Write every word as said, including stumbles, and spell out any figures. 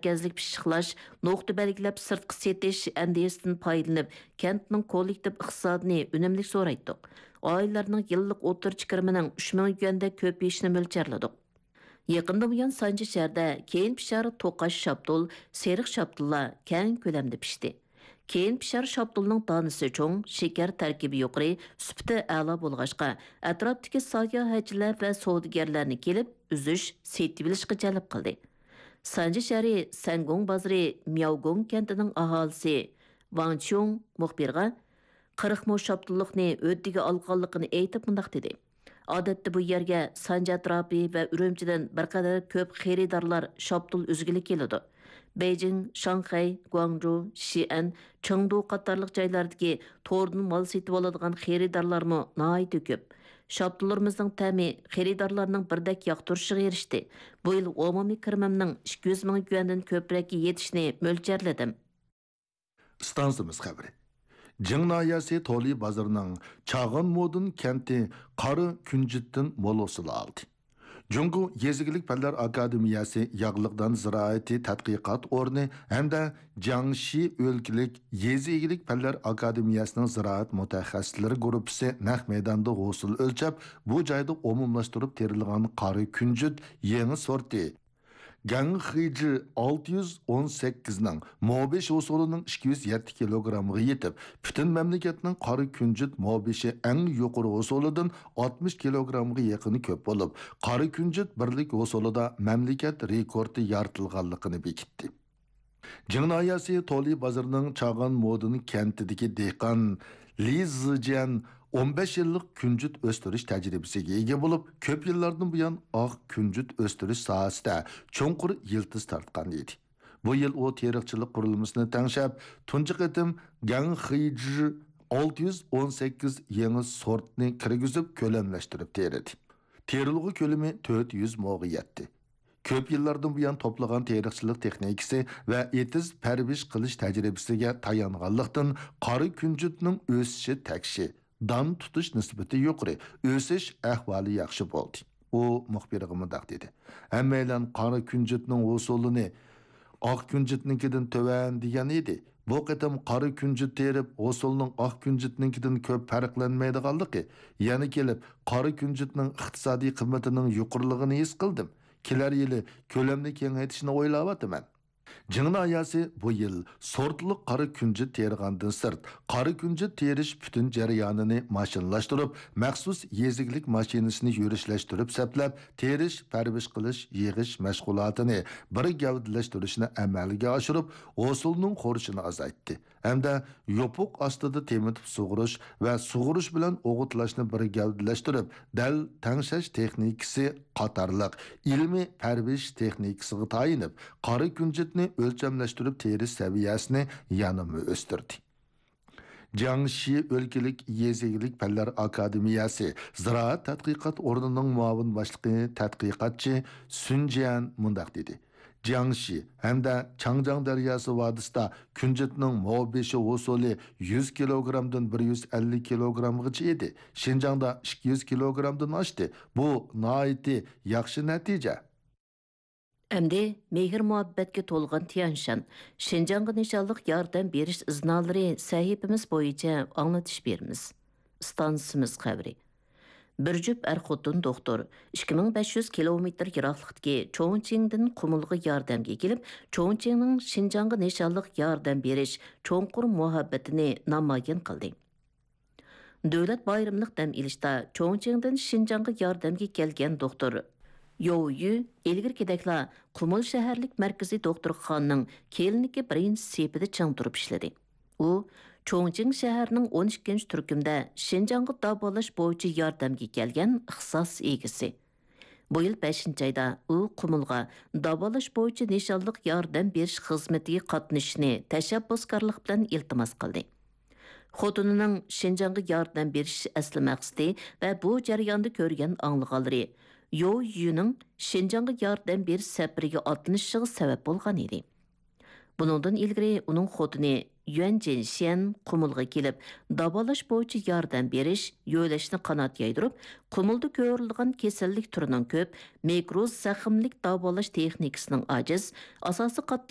مەركەزلىك پىششىقلاش، نۇقتا بەلگىلەپ سىرتقا سېتىش ئەندىزىسىدىن پايدىلىنىپ، كەنتنىڭ كوللېكتىپ ئىقتىسادىنى ئۈنۈملۈك زورايتتۇق. ئائىلىلەرنىڭ يىللىق ئوتتۇرىچە كىرىمىنىڭ ئۈچ مىڭ يۈەندەك كۆپىيىشىنى مۆلچەرلىدۇق. يېقىندىن بۇيان سانجى شەھىرىدە كېيىن پىشار توقاچ شاپتۇل، سېرىق شاپتۇللار كەڭ كۆلەمدە پىشتى. كېيىن پىشار شاپتۇلنىڭ دانىسى چوڭ، شېكەر تەركىبى يۇقىرى، سۈپىتى ئەلا بولغاچقا، ئەتراپتىكى ساياھەتچىلەر ۋە سودىگەرلەرنى كېلىپ ئۈزۈش، سېتىۋېلىشقا جەلپ قىلدى. سانجى شەھىرى سەنگۇڭ بازىرى مياۋگۇڭ كەنتىنىڭ ئاھالىسى ۋاڭ چيۇڭ مۇخبىرغا قىرىق مو شاپتۇللۇقنى ھۆددىگە ئالغانلىقىنى ئېيتىپ مۇنداق دېدى: ئادەتتە بۇ يەرگە سانجى ئەتراپى ۋە ئۈرۈمچىدىن بىر قەدەر كۆپ خېرىدارلار شاپتۇل ئۈزگىلى كېلىدۇ. بېيجىڭ، شاڭخەي، گۇاڭجۇ، شىئەن، چېڭدۇ قاتارلىق جايلاردىكى توردىن مال سېتىۋالىدىغان خېرىدارلارمۇ ناھايىتى كۆپ. شاپتۇللىرىمىزنىڭ تەمى خېرىدارلارنىڭ بىردەك ياقتۇرۇشىغا ئېرىشتى. بۇ يىل ئومۇمىي كىرىمىمنىڭ ئىككى يۈز مىڭ يۈەندىن كۆپرەككە يېتىشىنى مۆلچەرلىدىم. ئىستانسىمىز خەۋىرى. جىڭ ناھىيەسى تولى بازىرىنىڭ چاغان مودۇن كەنتى قارا كۈنجۈتتىن مول ھوسۇل ئالدى. جۇڭگو يېزا ئىگىلىك پەنلەر ئاكادېمىيەسى ياغلىق دان زىرائىتى تەتقىقات ئورنى ھەمدە جياڭشى ئۆلكىلىك يېزا ئىگىلىك پەنلەر ئاكادېمىيەسىنىڭ زىرائەت مۇتەخەسسىسلىرى گۇرۇپپىسى نەق مەيداندا ھوسۇل ئۆلچەپ، بۇ جايدا ئومۇملاشتۇرۇپ تېرىلغان قارا كۈنجۈت يېڭى سورتى گەڭخېيجى ئالتە يۈز ئون سەككىزنىڭ مو بەش ھوسۇلىنىڭ ئىككى يۈز يەتتە كىلوگرامغا يېتىپ، پۈتۈن مەملىكەتنىڭ قارا كۈنجۈت مو بەشى ئەڭ يۇقىرى ھوسۇلىدىن ئاتمىش كىلوگرامغا يېقىنى كۆپ بولۇپ، قارا كۈنجۈت بىرلىك ھوسۇلىدا مەملىكەت رېكورتى يارىتىلغانلىقىنى بېكىتتى. جىڭ ناھىيەسى تولى بازىرىنىڭ چاغان مودۇن كەنتىدىكى دېھقان لى زىجيەن ئون بەش يىللىق كۈنجۈت ئۆستۈرۈش تەجرىبىسىگە ئىگە بولۇپ، كۆپ يىللاردىن بۇيان ئاق كۈنجۈت ئۆستۈرۈش ساھەسىدە چوڭقۇر يىلتىز تارتقان ئىدى. بۇ يىل ئۇ تېرىقچىلىق قۇرۇلمىسىنى تەڭشەپ، تۇنجى قېتىم گەڭخېيجى ئالتە يۈز ئون سەككىز يېڭى سورتنى كىرگۈزۈپ، كۆلەملەشتۈرۈپ تېرىدى. تېرىلغۇ كۆلىمى تۆت يۈز موغا يەتتى. كۆپ يىللاردىن بۇيان توپلىغان تېرىقچىلىق تېخنىكىسى ۋە ئېتىز پەرۋىش قىلىش تەجرىبىسىگە تايانغانلىقتىن، قارا كۈنجۈتنىڭ ئۆسۈشى تەكشى، دان تۇتۇش نىسبىتى يۇقىرى، ئۆسۈش ئەھۋالى ياخشى بولدى. ئۇ مۇخبىرغا مۇنداق دېدى: ھەممەيلەن قارا كۈنجۈتنىڭ ھوسۇلىنى ئاق كۈنجۈتنىڭكىدىن تۆۋەن دېگەن ئىدى. بۇ قېتىم قارا كۈنجۈت تېرىپ، ھوسۇلنىڭ ئاق كۈنجۈتنىڭكىدىن كۆپ پەرقلەنمەيدىغانلىقى، يەنە كېلىپ قارا كۈنجۈتنىڭ ئىقتىسادىي قىممىتىنىڭ يۇقىرىلىقىنى ھېس قىلدىم. كېلەر يىلى كۆلەمنى كېڭەيتىشنى ئويلاۋاتىمەن. جىڭ ناھىيەسى بۇ يىل سورتلۇق قارا كۈنجۈت تېرىغاندىن سىرت، قارا كۈنجۈت تېرىش پۈتۈن جەريانىنى ماشىنىلاشتۇرۇپ، مەخسۇس يېزا ئىگىلىك ماشىنىسىنى يۈرۈشلەشتۈرۈپ سەپلەپ، تېرىش، پەرۋىش قىلىش، يىغىش مەشغۇلاتىنى بىر گەۋدىلەشتۈرۈشنى ئەمەلگە ئاشۇرۇپ، ھوسۇلنىڭ خورىشىنى ئازايتتى. ھەمدە يوپۇق ئاستىدا تېمىتىپ سۇغۇرۇش ۋە سۇغۇرۇش بىلەن ئوغۇتلاشنى بىر گەۋدىلەشتۈرۈپ، دەل تەڭشەش تېخنىكىسى قاتارلىق ئىلمىي پەرۋىش تېخنىكىسىغا تايىنىپ، قارا كۈنجۈتنى ئۆلچەملەشتۈرۈپ تېرىش سەۋىيەسىنى يەنىمۇ ئۆستۈردى. جياڭشى ئۆلكىلىك يېزا ئىگىلىك پەنلەر ئاكادېمىيەسى زىرائەت تەتقىقات ئورنىنىڭ مۇئاۋىن باشلىقى تەتقىقاتچى سۈن جيەن مۇنداق دېدى: جياڭشى ھەمدە چاڭجياڭ دەرياسى ۋادىسىدا كۈنجۈتنىڭ مو بېشى ھوسۇلى يۈز كىلوگرامدىن بىر يۈز ئەللىك كىلوگرامغىچە ئىدى. شىنجاڭدا ئىككى يۈز كىلوگرامدىن ئاشتى. بۇ ناھايىتى ياخشى نەتىجە. ئەمدى مېھىر-مۇھەببەتكە تولغان تيەنشان، شىنجاڭغا نىشانلىق ياردەم بېرىش ئىزنالىرى سەھىپىمىز بويىچە ئاڭلىتىش بېرىمىز. ئىستانسىمىز خەۋىرى. بىر جۈپ ئەر-خوتۇن دوختۇر ئىككى مىڭ بەش يۈز كىلومېتىر يىراقلىقتىكى چوڭچىڭدىن قۇمۇلغا ياردەمگە كېلىپ، چوڭچىڭنىڭ شىنجاڭغا نىشانلىق ياردەم بېرىش چوڭقۇر مۇھەببىتىنى نامايان قىلدى. دۆلەت بايرىملىق دەم ئېلىشتا چوڭچىڭدىن شىنجاڭغا ياردەمگە كەلگەن دوختۇر يوۋ يۈ ئىلگىرىكىدەكلا قۇمۇل شەھەرلىك مەركىزىي دوختۇرخانىنىڭ كىلىنىكا بىرىنچى سېپىدە چىڭ تۇرۇپ ئىشلىدى. ئۇ چوڭچىڭ شەھەرنىڭ ئون ئىككىنچى تۈركۈمدە شىنجاڭغا داۋالاش بويىچە ياردەمگە كەلگەن ئىختىساس ئىگىسى. بۇ يىل بەشىنچى ئايدا ئۇ قۇمۇلغا داۋالاش بويىچە نىشانلىق ياردەم بېرىش خىزمىتىگە قاتنىشىشنى تەشەببۇسكارلىق بىلەن ئىلتىماس قىلدى. خوتۇنىنىڭ شىنجاڭغا ياردەم بېرىش ئەسلى مەقسىتى ۋە بۇ جەرياندا كۆرگەن ئاڭلىغانلىرى يو يۈنىڭ شىنجاڭغا ياردەم بېرىش سەپىرىگە ئاتلىنىشىغا سەۋەب بولغان ئىدى. بۇنىڭدىن ئىلگىرى ئۇنىڭ خوتۇنى يۈەن جىنشيەن قۇمۇلغا كېلىپ، داۋالاش بويىچە ياردەم بېرىش، يۆلەشنى قانات يايدۇرۇپ، قۇمۇلدا كۆرۈلىدىغان كېسەللىك تۈرىنىڭ كۆپ، مىكرو زەخىملىك داۋالاش تېخنىكىسىنىڭ ئاجىز، ئاساسىي قاتلام